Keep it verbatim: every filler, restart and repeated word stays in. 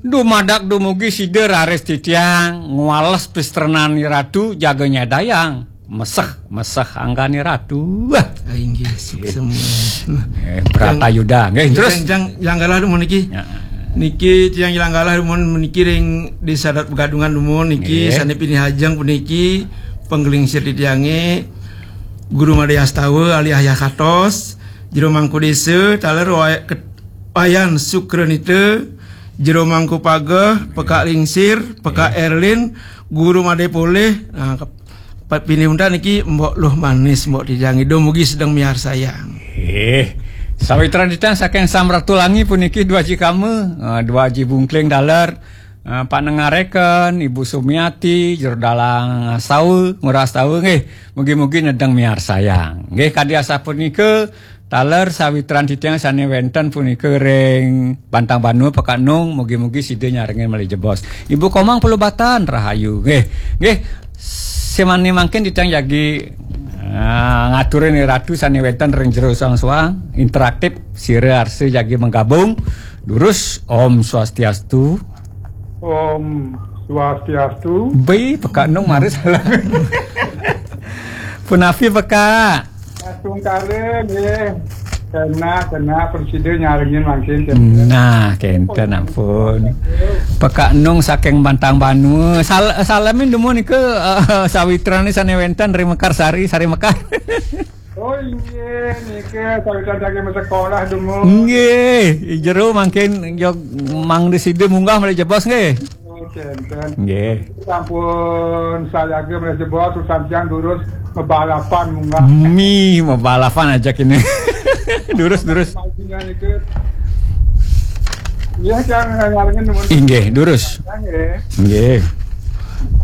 Dumadak dumugi sida raris titiang ngwales pistrenan Ratu jaga nyedayang. Meseh, meseh anggan Ratu. Wah. Ah, inggih, suksma. Eh, Bratayuda. Nggih, terus? Tiang, tiang Janggalah dumun niki. Ya. Niki tiang Janggalah dumun niki ring Desa Adat Pegadungan dumun niki, nggih, sané pinih ajeng puniki panglingsir titiangé Guru Madé Astawa alias Yah Katos, Jero Mangku Désa, taler Waya-, Ket-, Wayan Sukranita, Jero Mangku Pageh, Pekak Lingsir, Pekak Erlin, Guru Madé Polih. Nah, kep-, Pat pinih untat niki Mbok Luh Manis, Mbok titiang, dumugi sedeng miarsayang. Eh, sawitran titiang saking Samratulangi puniki Dwaji Kama, eh, Dwaji Bungkling taler, eh, Pak Nengareken, Ibu Sumiati, Jero Dalang Astawa, Ngurah Astawa nggih. Mugi-mugi nedeng miarsayang. Nggih, kadi asapunika taler sawitran titiang sané wénten punika ring Bantang Banua Pekak Nung, mugi-mugi sida nyarengin malih jebos. Ibu Komang Pelubatan, rahayu. Nggih. Nggih. Semané mangkin titiang jagi, ah, ngaturin Ratu sané wénten ring jero soang-soang, interaktif, sira arsa jagi menggabung. Durus, Om Swastiastu. Om Swastiastu. Bi, Pekak Nung mara salah. Punapi, Pekak? Astungkara nggih. Kena, kena, prasida nyarengin mangkin. Nah, kénten ampun. Pekak Nung saking Bantang Banua. Sal-, salemin dumun nika, eh, sawitrané sané wénten ring Mekarsari, Sari Mekar. Oh, inggih, nika sawitrané saking sekolah dumun. Nggih, jero mangkin jog mangda sida munggah malih jebos nggih. Oh, kénten. Nggih. Sampun sayaga malih jebos, urusan tiang durus mabalapan munggah. Mi, mabalapan aja kini. Durus, durus. Majunya niki. Iya, tiang nyarengin dumun. Inggih, durus. Tiang, nggih. Nggih.